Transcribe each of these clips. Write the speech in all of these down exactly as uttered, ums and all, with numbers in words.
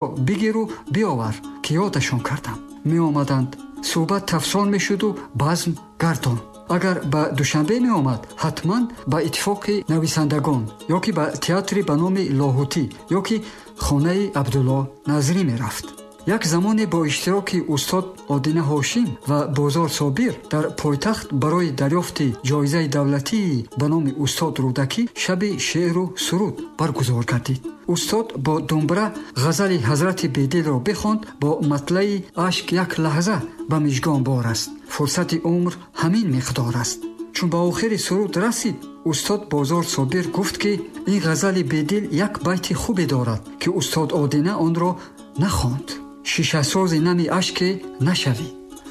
Бигиру биёвар, ки ёдашон кардам. Меомаданд, суҳбат тафсон мешуду базм гардон. Агар ба Душанбе меомад, ҳатман ба Иттифоқи нависандагон ё ки ба театри ба номи Лоҳутӣ ё ки хонаи Абдулло Назрӣ мерафт. Як замоне бо иштироки устод Одина Ҳошим ва Бозор Собир дар пойтахт барои дарёфти ҷоизаи давлатии ба номи устод Рӯдакӣ шаби шеъру суруд баргузор гардид. Устод бо думбра ғазали ҳазрати Бедилро бихонд бо матлаи «Ашк як лаҳза ба мижгон бор аст, фурсати умр ҳамин миқдор аст». Чун ба охири суруд расид, устод Бозор Собир гуфт, ки ин ғазали Бедил як байти хубе дорад, ки устод Одина онро нахонд: «Шишасози нами ашке нашавӣ».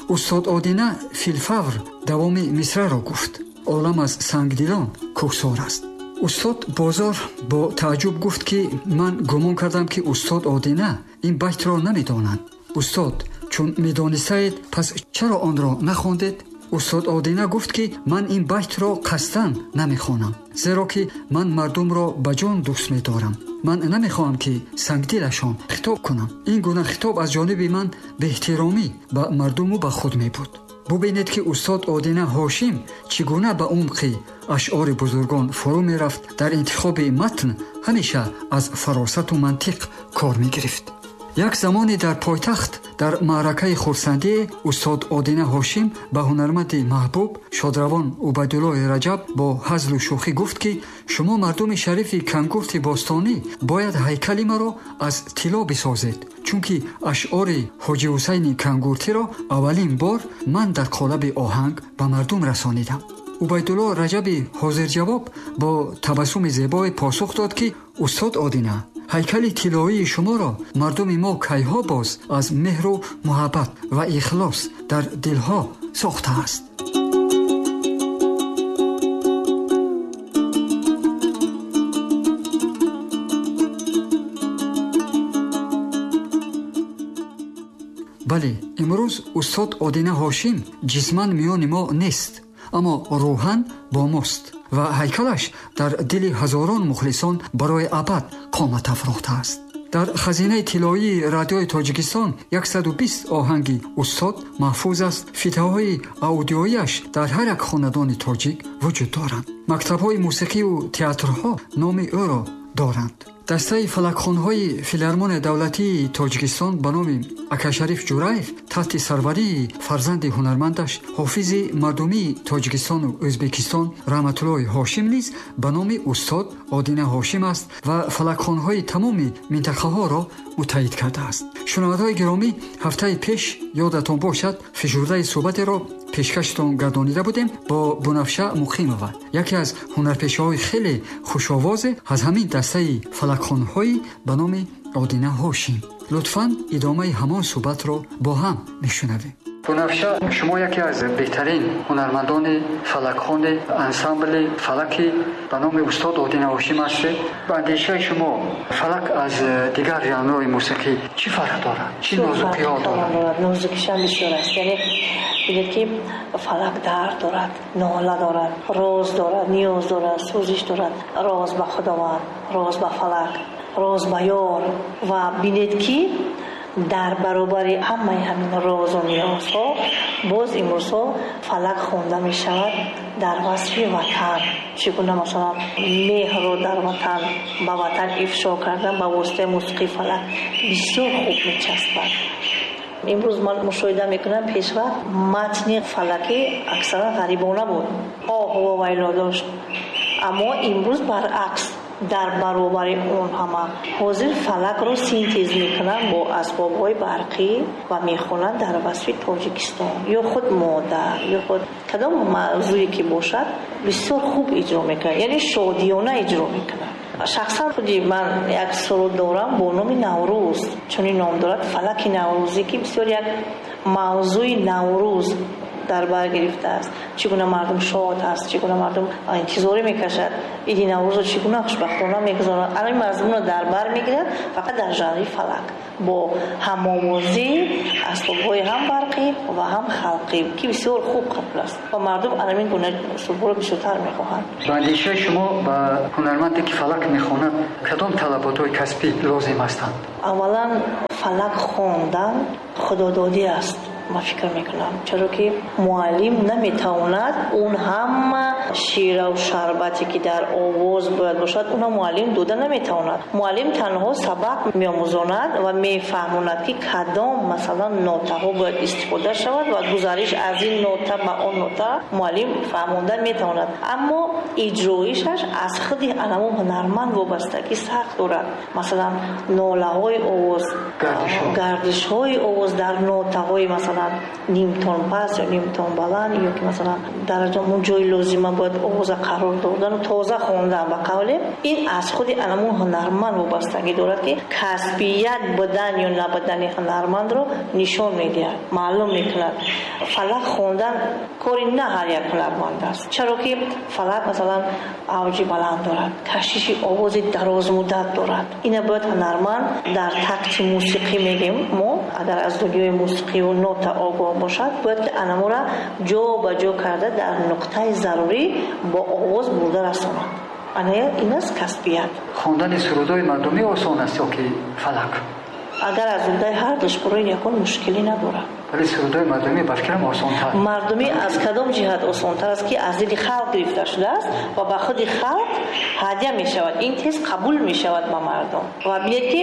Устод Одина филфавр давоми мисраро гуфт: «Олам аз сангдилон кӯҳсор аст». Устод Бозор бо тааҷҷуб гуфт, ки ман гумон кардам, ки устод Одина ин байтро намедонанд. Устод, чун медонистаед, пас чаро онро нахондед? Устод Одина гуфт, ки ман ин байтро қасдан намехонам, зеро ки ман мардумро ба ҷон дӯст медорам. Ман намехоҳам, ки сангдилашон хитоб кунам. Ин гуна хитоб аз ҷониби ман беэҳтиромӣ ба мардуму ба худ мебуд. Бубинед, ки устод Одина Ҳошим чӣ гуна ба умқи ашъори бузургон фурӯ мерафт. Дар интихоби матн ҳамеша аз фаросату мантиқ кор мегирифт. Як замоне дар пойтахт дар маъракаи хурсандие устод Одина Ҳошим ба ҳунарманди маҳбуб шодравон Убайдуллои Раҷаб бо ҳазлу шӯхӣ гуфт, ки шумо мардуми шарифи Кангурти бостонӣ бояд ҳайкали маро аз тилло бисозед, чунки ашъори Ҳоҷи Ҳусайни Кангуртиро аввалин бор ман дар қолаби оҳанг ба мардум расонидам. Убайдулло Раҷаби ҳозирҷавоб бо табассуми зебое посух дод, ки устод Одина, ҳайкали тиллоии шуморо мардуми мо кайҳо боз аз меҳру муҳаббат ва ихлос дар дилҳо сохтааст. Бале, имрӯз устод Одина Ҳошим ҷисман миёни мо нест, аммо рӯҳан бо мост ва ҳайкалаш дар дили ҳазорон мухлисон барои абад қомат афрохтааст. Дар хазинаи тиллоии Радиои Тоҷикистон яксаду бист оҳанги устод маҳфуз аст. Фитаҳои аудиоияш дар ҳар як хонадони тоҷик вуҷуд доранд. Мактабҳои мусиқиву театрҳо номи ӯро доранд. Дастаи фалакхонҳои Филармонияи давлатии Тоҷикистон ба номи Акашариф Ҷураев таҳти сарварии фарзанди ҳунармандаш, ҳофизи мардумии Тоҷикистону Ӯзбекистон Раҳматуллои Ҳошим низ ба номи устод Одина Ҳошим аст ва фалакхонҳои тамоми минтақаҳоро муттаҳид кардааст. Шунавандаҳои гиромӣ, ҳафтаи пеш ёдатон бошад, фишурдаи суҳбатеро пешкаштон гардонида будем бо Бунафша Муқимова, яке аз ҳунарпешаҳои хеле хушовозе аз ҳамин дастаи фалакхонҳои ба номи Одина Ҳошим. Лутфан идомаи ҳамон суҳбатро бо ҳам мешунавем. Бунафша, шумо яке аз беҳтарин ҳунармандони фалакхони ансамбли фалаки ба номи устод Одина Ҳошим ҳастед. Ба андешаи шумо фалак аз дигар жанрҳои мусиқӣ чӣ фарқ дорад? Чӣ нозукиҳо дорад? Нозукишам бисёр аст. Яъне бинед, ки фалак дард дорад, нола дорад, роз дорад, ниёз дорад, сӯзиш дорад. Роз ба Худованд, роз ба фалак, роз ба ёр. Ва бинед, ки дар баробари ҳамаи ҳамин розу ниёзҳо боз имрӯзҳо фалак хонда мешавад дар васфи ватан. Чӣ гуна масалан меҳрро дар ватан, ба ватан ифшо кардан ба воситаи мусиқии фалак бисёр хуб мечаспад. Имрӯз ман мушоҳида мекунам, пешвақт матни фалакӣ аксаран ғарибона буд, оҳу вовайло дошт, аммо имрӯз баръакс, дар баробари он ҳама ҳозир фалакро синтез мекунанд бо асбобҳои барқӣ ва мехонанд дар васфи Тоҷикистон ё худ модар ё худ кадом мавзӯе ки бошад, бисёр хуб иҷро мекунанд, яъне шодиёна иҷро мекунанд. Шахсан худи ман як суруд дорам бо номи Наврӯз, чунин ном дорад, фалаки наврӯзӣ, ки бисёр як мавзӯи Наврӯз дар бар гирифтааст, чӣ гуна мардум шод аст, чӣ гуна мардум интизорӣ мекашад иди Наврӯзро, чӣ гуна хушбахтона мегузаронад. Ҳамин мазмунро дар бар мегирад фақат дар жанри фалак бо ҳамовозии асбобҳои ҳам барқӣ ва ҳам халқӣ, ки бисёр хуб қабул аст ва мардум ҳамин гуна услубҳоро бисёртар мехоҳанд. Ба андешаи шумо ба ҳунарманде ки фалак мехонад кадом талаботҳои касбӣ лозим ҳастанд? Аввалан фалак хондан худододӣ аст, ман фикр мекунам, чаро ки муаллим наметавонад он ҳама шираву шарбате ки дар овоз бояд бошад, онро муаллим дода наметавонад. Муаллим танҳо сабақ меомӯзонад ва мефаҳмонад, ки кадом масалан нотаҳо бояд истифода шавад ва гузариш аз ин нота ба он нота муаллим фаҳмонда метавонад, аммо иҷроишаш аз худи анамон ҳунарманд вобастагӣ сахт дорад. Масалан нолаҳои овоз, гардишҳои овоз дар нотаҳои масалан нимтон пас ё нимтон баланд, ё ки масалан дар он ҷои лозима бояд овоза қарор додан ва тоза хондан, ба қавле ин аз худи анамон ҳунарманд вобастагӣ дорад, ки касбият будан ё набудани ҳунармандро нишон медиҳад, маълум мекунад. Фалак хондан кори на ҳар як ҳунарманд аст, чаро ки фалак масалан авҷи баланд дорад, кашиши овози дарозмуддат дорад. Ина бояд ҳунарманд дар такти мусиқӣ мегем мо, агар аз дунёи мусиқӣ ва нота огоҳ бошад, бояд ки анамора ҷо ба ҷо карда дар нуқтаи зарурӣ бо овоз бурда расонад. Ана ин аст касбият. Хондани сурудҳои мардумӣ осон аст ё ки фалак? Агар аз уҳдаи ҳар душ барои ягон мушкилӣ надорад. Вале сурудҳои мардумӣ ба фикрам осонтар. Мардумӣ аз кадом ҷиҳат осонтар аст, ки аз дили халқ гирифта шудааст ва ба худи халқ ҳадя мешавад, ин тез қабул мешавад ба мардум. Ва бинед ки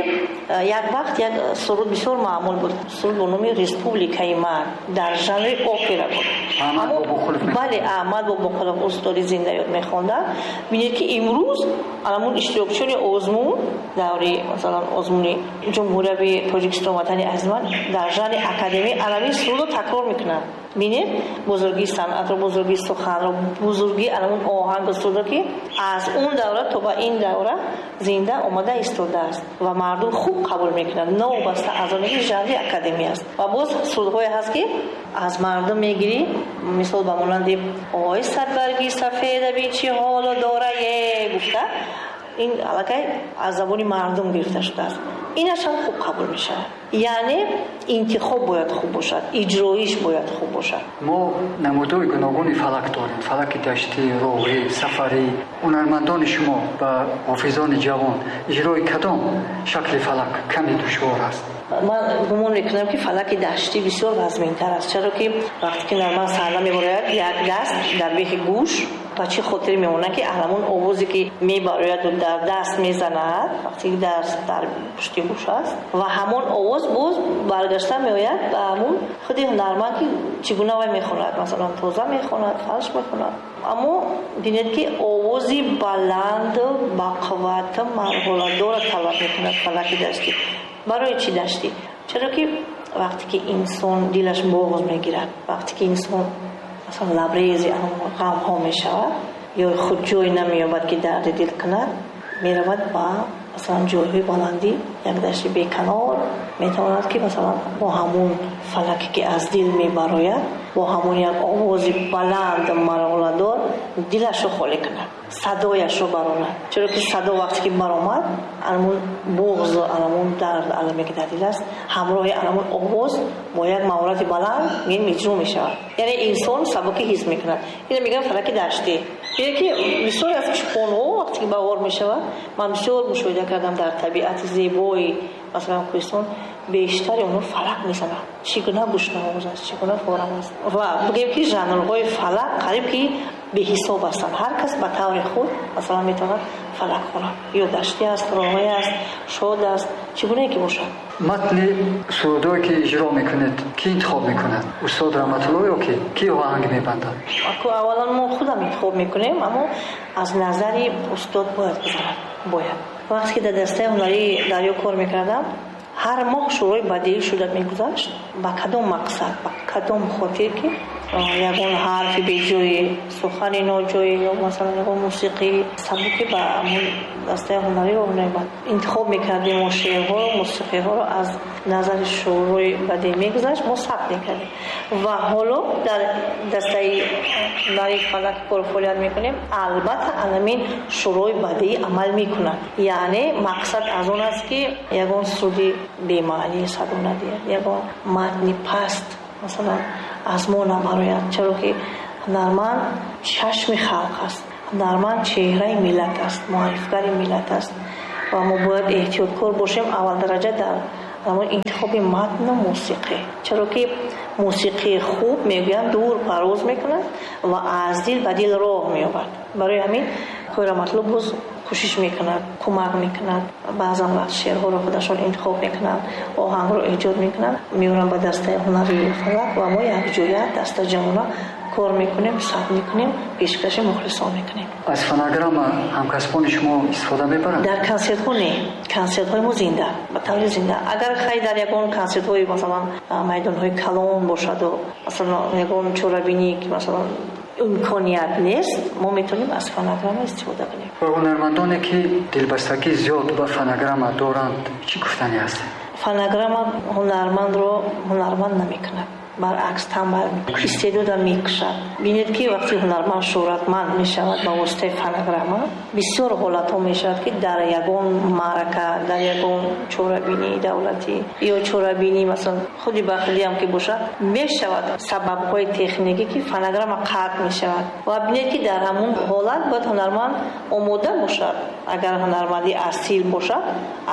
як вақт як суруд бисёр маъмул буд, суруд бо номи Республикаи ман дар жанри опера буд. Аҳмад Бобоқулов. Бале, Аҳмад Бобоқулов устоди зиндаёд мехонданд. Бинед ки имрӯз анамун иштирокчиёни озмун даври масалан озмуни Ҷумҳурияи Тоҷикистон Ватани азизман дар жанри академӣ анамин сурудро такрор мекунанд. Бинед бузургии санъатро, бузургии суханро, бузургии анамун оҳангу сурудро, ки аз он давра то ба ин давра зинда омада истодааст ва мардум хуб қабул мекунанд, новобаста аз оне ки жанри академӣ аст. Ва боз сурудҳое ҳаст, ки аз мардум мегирӣ, мисол ба монанди ой садбарги сафеда бин чӣ ҳоло дорае гуфта, ин аллакай аз забони мардум гирифта шудааст. Инаш ҳам хуб қабул мешавад. Яъне интихоб бояд хуб бошад, иҷроиш бояд хуб бошад. Мо намудҳои гуногуни фалак дорем: фалаки даштӣ, роғӣ, сафарӣ. Ҳунармандони шумо ва ҳофизони ҷавон иҷрои кадом шакли фалак каме душвор аст? Ман гумон мекунам, ки фалаки даштӣ бисёр вазминтар аст, чаро ки вақте ки ҳунарманд саҳна мебарояд, як даст дар бехи гӯш, ба чӣ хотир мемонад, ки аҳламон овозе ки мебарояду дар даст мезанад, вақте ки даст дар пушти гӯш аст, ва ҳамон овоз боз баргашта меояд ба ҳамон худи ҳунарманд, ки чӣ гуна вай мехонад, масалан тоза мехонад, фалш мехонад. Аммо бинед ки овози баланд, бақувват, марҳаладорро талаб мекунад фалаки даштӣ. Барои чӣ даштӣ? Чаро ки вақте ки инсон дилаш боғз мегирад, вақте ки инсон масалан лабрези ғамҳо мешавад ё худ ҷой намеёбад ки дарди дил кунад, меравад ба масалан ҷойҳои баландӣ, як дашти беканор, метавонад ки масалан бо ҳамон фалаке ки аз дил мебарояд, бо ҳамон як овози баланд марҳаладор дилашро холӣ кунад, садояшро барорад. Чаро ки садо вақте ки баромад, анамун буғзу анамун дард аламе ки дар дил аст, ҳамроҳи анамун овоз бо як маҳорати баланд иҷро мешавад. Яъне инсон сабукӣ ҳис мекунад. Ино мегӯям фалаки даштӣ. Бинед ки бисёре аз чӯпонҳо вақте ки баҳор мешавад, ман бисёр мушоҳида кардам дар табиати зебои масалан кӯҳистон, бештари онҳо фалак мезананд. Чӣ гуна гӯшнавоз аст, чӣ гуна форам аст. Ва бигӯем ки жанрҳои фалак қариб ки беҳисоб ҳастанд. Ҳар кас ба таври худ масалан метавонад фалак хонад. Ё даштӣ аст, роғӣ аст, шод аст, чӣ гунае ки бошад. Матни сурудҳое ки иҷро мекунед, кӣ интихоб мекунад? Устод Раҳматулло ё ки? Кӣ оҳанг мебандад? Аввалан мо худам интихоб мекунем, аммо аз назари устод бояд гузарад. Бояд. Вақте ки дар дастаи ҳунарии Дарё кор мекардам, ҳар моҳ шӯрои бадеӣ шуда мегузашт. Ба кадом мақсад, ба кадом хотир ки Ягон ҳарфи беҷоӣ, сухани ноҷоӣ ё масалан ягон мусиқии сабуке ба ҳамон дастаи ҳунарӣ роҳ наёбад. Интихоб мекардем мо шеърҳоро, мусиқиҳоро аз назари шӯрои бадеӣ мегузашт, мо сабт мекардем. Ва ҳоло дар дастаи ҳунарии Фалак кор фаъолият мекунем, албатта ҳамин шӯрои бадеӣ амал мекунад. Яъне мақсад аз он аст, ки ягон суди бемаънӣ садо надиҳад, ягон матни паст масалан аз мо набарояд, чаро ки ҳунарманд чашми халқ аст, ҳунарманд чеҳраи миллат аст, муаррифгари миллат аст ва мо бояд эҳтиёткор бошем аввал дараҷа дар ҳамон интихоби матну мусиқӣ, чаро ки мусиқии хуб мегӯянд дур парвоз мекунад ва аз дил ба дил роҳ меёбад. Барои ҳамин Қоҳира Матлуб боз кӯшиш мекунад, кӯмак мекунад, баъзан вақт шеърҳоро худашон интихоб мекунанд, оҳангро эҷод мекунанд, меоранд ба дастаи ҳунарии Фалак ва мо якҷоя дастаҷамъона кор мекунем, сабт мекунем, пешкаши мухлисон мекунем. Аз фонограмма ҳамкасбони шумо истифода мебаранд? Дар консертҳо не, консертҳои мо зинда, ба таври зинда. Агар хай дар ягон консертҳои масалан майдонҳои калон бошаду масалан ягон чорабинӣ ки масалан имконият нест, мо метавонем аз фонограмма истифода кунем. Ба ҳунармандоне ки дилбастагӣ зиёд ба фонограмма доранд, чӣ гуфтанӣ ҳаст? Фонограмма ҳунармандро ҳунарманд намекунад, баръакс танбал мекунад, истеъдодам мекушад. Бинед ки вақте ҳунарманд шӯҳратманд мешавад ба воситаи фонограмма, бисёр ҳолатҳо мешавад ки дар ягон маърака, дар ягон чорабинии давлатӣ ё чорабинии масалан худи бахилиам ки бошад, мешавад сабабҳои техникӣ ки фонограмма қатъ мешавад. Ва бинед ки дар ҳамон ҳолат бояд ҳунарманд омода бошад. Агар ҳунарманди асил бошад,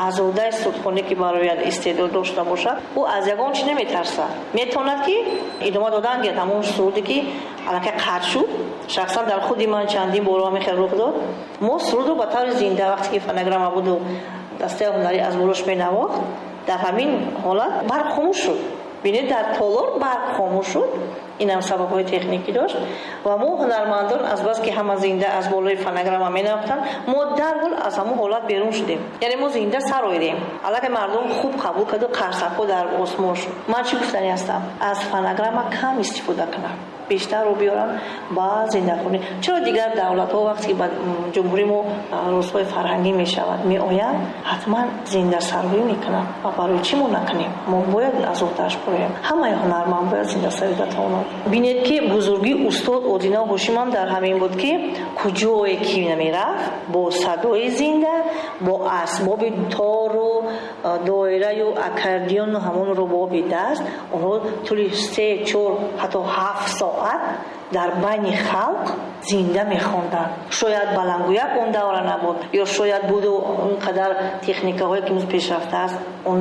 аз уҳдаи судхонӣ ки барояд истеъдод дошта бошад, ӯ аз ягон чиз наметарсад. Метавонад ки идома додан гирад ҳамон суруде ки аллакай қатъ шуд. Шахсан дар худи ман чандин бор ҳамин хел рух дод. Мо сурудро ба таври зинда вақте ки фонограмма буду дастаи ҳунарӣ аз болош менавохт, дар ҳамин ҳолат барқ хомӯш шуд. Бинед, дар толор барқ хомӯш шуд. Инам сабабҳои техникӣ дошт ва мо ҳунармандон аз бас ки ҳама зинда аз болои фонограмма менавохтанд, мо дарҳол аз ҳамон ҳолат берун шудем. Яъне мо зинда сароидем. Аллакай мардум хуб қабул карду қарсакҳо дар осмон шуд. Ман чӣ гуфтанӣ ҳастам? Аз фонограмма кам истифода кунам, бештарро биёрам ба зиндахонӣ. Чаро дигар давлатҳо вақте ки ба ҷумҳурии мо рӯзҳои фарҳангӣ мешавад, меоянд, ҳатман зиндасароӣ мекунанд. Ва барои чӣ мо накунем? Мо бояд аз уҳдааш бароем. Ҳамаи ҳунарманд бояд зиндасароида тавонад. Бинед ки бузургии устод Одина Ҳошимам дар ҳамин буд, ки куҷое ки намерафт, бо садои зинда, бо асбоби тору доираю аккордеону ҳамон рубоби даст, онҳо тӯли се, чор, ҳатто ҳафт соат дар байни халқ зинда мехонданд. Шояд баландгӯяк он давра набуд, ё шояд буду он қадар техникаҳое ки имрӯз пешрафта аст, он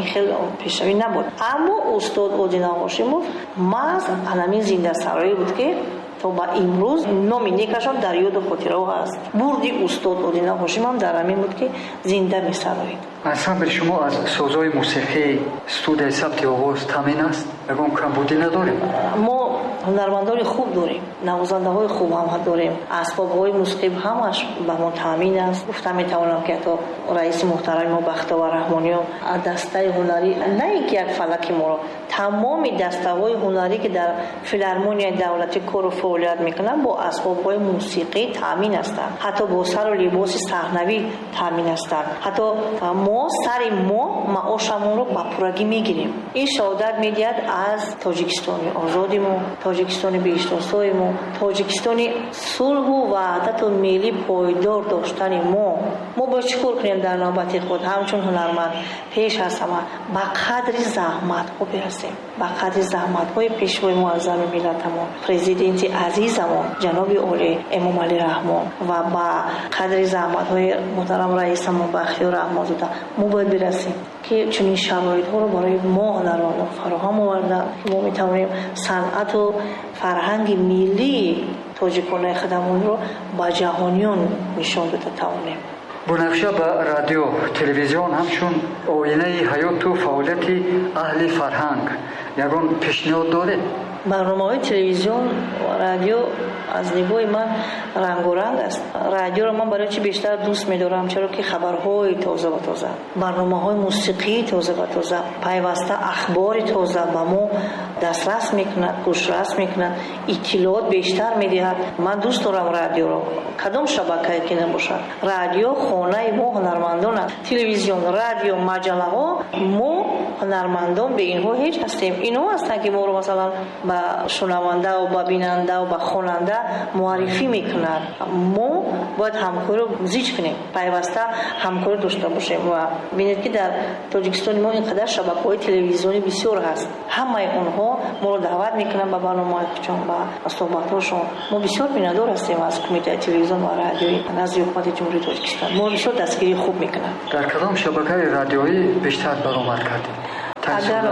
ин хел пешравӣ набуд. Аммо устод Одина Ҳошимов маҳз ҳамин зиндасароӣ буд, ки то ба имрӯз номи некашон дар ёду хотираҳо ҳаст. Бурди устод Одина Ҳошимам дар ҳамин буд, ки зинда месароид. Ансамбли шумо аз созҳои мусиқӣ, студияи сабти овоз таъмин аст? Ягон камбудӣ надорем? Мо ҳунармандони хуб дорем, навозандаҳои хуб ҳам дорем, асбобҳои мусиқӣ ҳамаш ба мо таъмин аст. Гуфта метавонам, ки ҳатто раиси муҳтарами мо Бахтовар Раҳмониён дастаи ҳунарӣ, на ин ки як фалаки моро, тамоми дастаҳои ҳунарӣ ки дар филармонияи давлатӣ кору фаъолият мекунанд, бо асбобҳои мусиқӣ таъмин ҳастанд, ҳатто бо сару либоси саҳнавӣ таъмин ҳастанд. Ҳатто мо сари мо маошамонро ба пуррагӣ мегирем. Ин шаҳодат медиҳад аз Тоҷикистони озоди мо, Тоҷикистони беиштосои мо, Тоҷикистони сулҳу ваҳдату миллӣ пойдор доштани мо. Мо бояд чӣ кор кунем дар навбати худ ҳамчун ҳунарманд? Пеш аз ҳама ба қадри заҳматҳо бирасем, ба қадри заҳматҳои пешвои муаззами миллатамон, президенти азизамон ҷаноби олӣ Эмомалӣ Раҳмон ва ба қадри заҳматҳои муҳтарам раисамон Бахтиёр Раҳмонзода мо бояд бирасем, ки чунин шароитҳоро барои мо ҳунармандон фароҳам оварданд, ки мо метавонем санъату фарҳанги миллии тоҷиконаи худамонро ба ҷаҳониён нишон дода тавонем. Бунафша ба радио, телевизион ҳамчун оинаи ҳаёту фаъолияти аҳли фарҳанг ягон пешниҳод доред? Барномаҳои телевизион ва радио аз нигоҳи ман рангоранг аст. Радиоро ман барои чӣ бештар дӯст медорам? Чаро ки хабарҳои тоза ва тоза, барномаҳои мусиқии тоза ва тоза, пайваста ахбори тоза ба мо дастрас мекунад, гӯшрас мекунад, иттилоот бештар медиҳад. Ман дӯст дорам радиоро, кадом шабакае ки набошад. Радио хонаи мо ҳунармандон аст. Телевизион, радио, маҷаллаҳо, мо ҳунармандон бе инҳо ҳеҷ ҳастем. Инҳо ҳастанд ки моро масалан ба шунавандаву ба бинандаву ба хонанда муаррифӣ мекунанд. Мо бояд ҳамкориро зич кунем, пайваста ҳамкорӣ дошта бошем. Ва бинед ки дар Тоҷикистони мо ин қадар шабакаҳои телевизионӣ бисёр ҳаст. Ҳамаи онҳо моро даъват мекунанд ба барномаҳои худшон, ба суҳбатҳошон. Мо бисёр миннатдор ҳастем аз Кумитаи телевизион ва радиои назди Ҳукумати Ҷумҳурии Тоҷикистон. Моро бисёр дастгирии хуб мекунанд. Дар кадом шабакаи радиоӣ бештар баромад кардед? Агар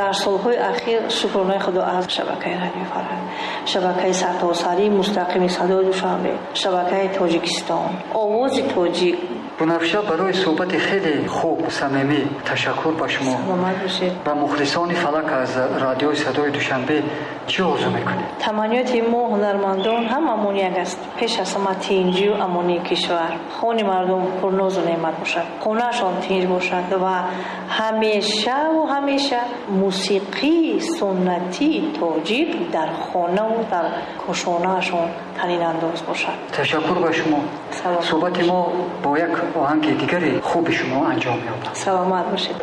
дар солҳои ахир, шукронаи Худо, аз шабакаи радиои Фарҳанг, шабакаи сартосарии мустақими садои Душанбе, шабакаи Тоҷикистон, Овози Тоҷик. Бунафша, барои суҳбати хеле хуб, самимӣ ташаккур ба шумо. Саломат бошед. Ба мухлисони Фалак аз радиои садои Душанбе чӣ орзу мекунед? Таманниёти мо ҳунармандон ҳамамон як аст. Пеш аз ҳама тинҷию амонии кишвар, хони мардум пурнозу неъмат бошад, хонаашон тинҷ бошад ва ҳамешаву ҳамеша мусиқии суннатии тоҷик дар хонаву дар кошонаашон танинандоз бошад. Ташаккур ба шумо. Саломат. Суҳбати мо бо як оҳанги дигари хуби шумо анҷом меёбад. Саломат бошед.